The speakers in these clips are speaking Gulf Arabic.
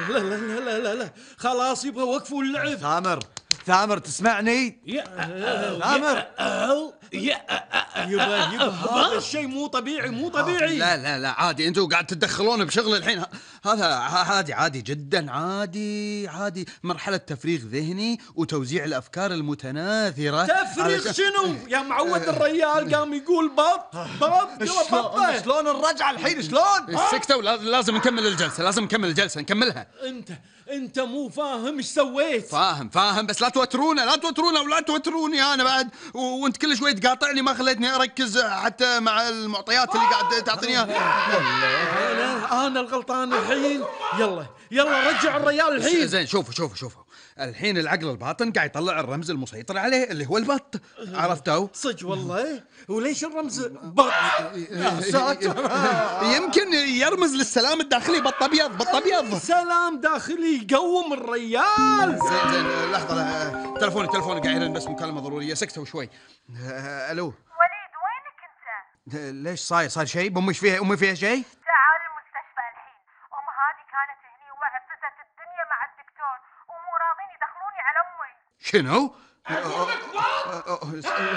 لا لا لا لا لا لا، خلاص يبغى وقفوا اللعب. ثامر تسمعني؟ ثامر يبا هذا الشيء مو طبيعي، مو طبيعي. لا عادي، انتوا قاعد تتدخلون بشغل الحين. هذا عادي جدا، عادي مرحلة تفريغ ذهني وتوزيع الأفكار المتناثرة. تفريغ شنو يا معود؟ الريال قام يقول بط شلون الرجعة الحين؟ شلون؟ سكتوا، لازم نكمل الجلسة، نكملها. انت مو فاهم ايش سويت. فاهم بس لا توترونا ولا توتروني انا بعد، وانت كل شوي تقاطعني، ما خليتني اركز حتى مع المعطيات اللي قاعد تعطيني اياها. انا الغلطان الحين. يلا رجع الريال الحين. زين شوفوا الحين العقل الباطن قاعد يطلع الرمز المسيطر عليه اللي هو البط. عرفتوا؟ صدق والله؟ وليش الرمز بط؟ يمكن يرمز للسلام الداخلي. بط ابيض. سلام داخلي يقوم الريال. زين لحظة، تلفوني قاعد يرن، بس مكالمة ضرورية. سكتوا شوي. الو وليد، وينك انت؟ ليش صاير شيء؟ امي فيها شيء؟ تعال المستشفى الحين. ام هذه كانت هني وعفست الدنيا مع الدكتور ومو راضين يدخلوني على امي. شنو؟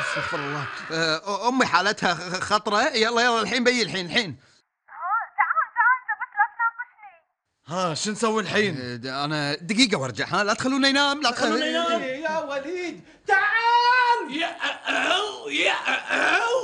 استغفر الله. امي حالتها خطرة. يلا الحين بي الحين. تعال انت بس لا تناقشني. شو نسوي الحين؟ انا دقيقة وارجع. لا تخلونا ينام. يا وليد تعال.